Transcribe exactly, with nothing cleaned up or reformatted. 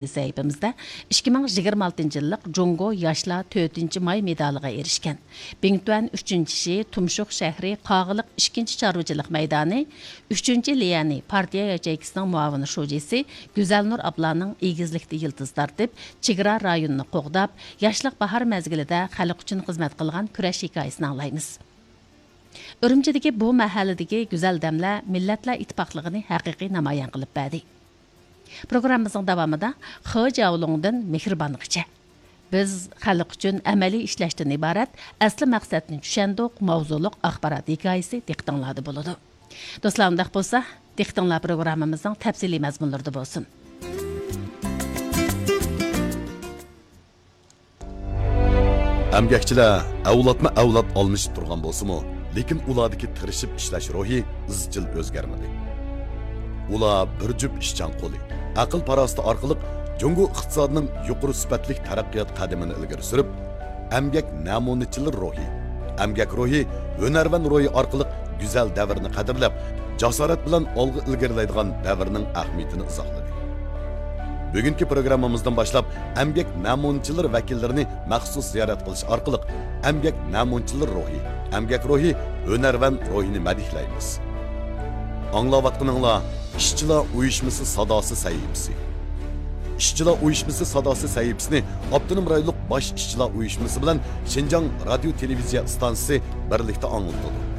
سەھىپىمىزدە ئىككى مىڭ يىگىرمە ئالتىنچى يىللىق جۇڭگو ياشلار تۆتىنچى ماي مېدالىغا ئېرىشكەن، بىڭتۈەن ئۈچىنچى شى، تۇمشۇق شەھىرى قاغىلىق ئىككىنچى چارۋىچىلىق مەيدانى، ئۈچىنچى ليەنى پارتىيە ياچېيكىسىنىڭ مۇئاۋىن شۇجىسى گۈزەلنۇر ئابلانىڭ ئېگىزلىكتە يىلتىز تارتىپ، چېگرا رايونىنى قوغداپ، ياشلىق باھار مەزگىلىدە خەلق ئۈچۈن خىزمەت قىلغان كۈرەش ھېكايىسىنى ئاڭلايمىز. ئۈرۈمچىدىكى بۇ مەھەللىدىكى گۈزەل دەملەر مىللەتلەر ئىتتىپاقلىقىنى ھەقىقىي نامايان قىلىپ بەردى. پروگراممىمىزنىڭ داۋامىدا خې جياۋلۇڭدىن مېھرىبانغىچە، بىز خەلق ئۈچۈن ئەمەلىي ئىشلەشتىن ئىبارەت ئەسلى مەقسەتنى چۈشەندۇق ماۋزۇلۇق ئاخبارات ھېكايىسى دىققىتىڭلاردا بولىدۇ. دوستلار، ئۇنداق بولسا، دىققىتىڭلار پروگراممىمىزنىڭ تەپسىلىي مەزمۇنلىرىدا بولسۇن. ئەمگەكچىلەر ئەۋلادمۇ ئەۋلاد ئالمىشىپ تۇرغان بولسىمۇ، لېكىن ئۇلاردىكى تىرىشىپ ئىشلەش روھى ئىزچىل ئۆزگەرمىدى. ئۇلار بىر جۈپ ئىشچان قولى، ئەقىل-پاراسىتى ئارقىلىق جۇڭگو ئىقتىسادىنىڭ يۇقىرى سۈپەتلىك تەرەققىيات قەدىمىنى ئىلگىرى سۈرۈپ، ئەمگەك نەمۇنىچىلىرى روھى، ئەمگەك روھى، ھۈنەرۋەن روھى ئارقىلىق گۈزەل دەۋرنى قەدىرلەپ، جاسارەت بىلەن ئالغا ئىلگىرىلەيدىغان دەۋرنىڭ ئەھمىيىتىنى ئىزاھلىدى. بۈگۈنكى پروگراممىمىزدىن باشلاپ ئەمگەك نەمۇنىچىلىرى ۋەكىللىرىنى مەخسۇس زىيارەت قىلىش ئارقىلىق ئەمگەك نەمۇنىچىلىرى روھى، ئەمگەك روھى، ھۈنەرۋەن روھىنى مەدھىيلەيمىز. ئاڭلاۋاتقىنىڭلار ئىشچىلار ئۇيۇشمىسى ساداسى سەھىپىسى. ئىشچىلار ئۇيۇشمىسى ساداسى سەھىپىسىنى ئاپتونوم رايونلۇق باش ئىشچىلار ئۇيۇشمىسى بىلەن شىنجاڭ رادىيو تېلېۋىزىيە ئىستانسىسى بىرلىكتە ئاڭلىتىدۇ.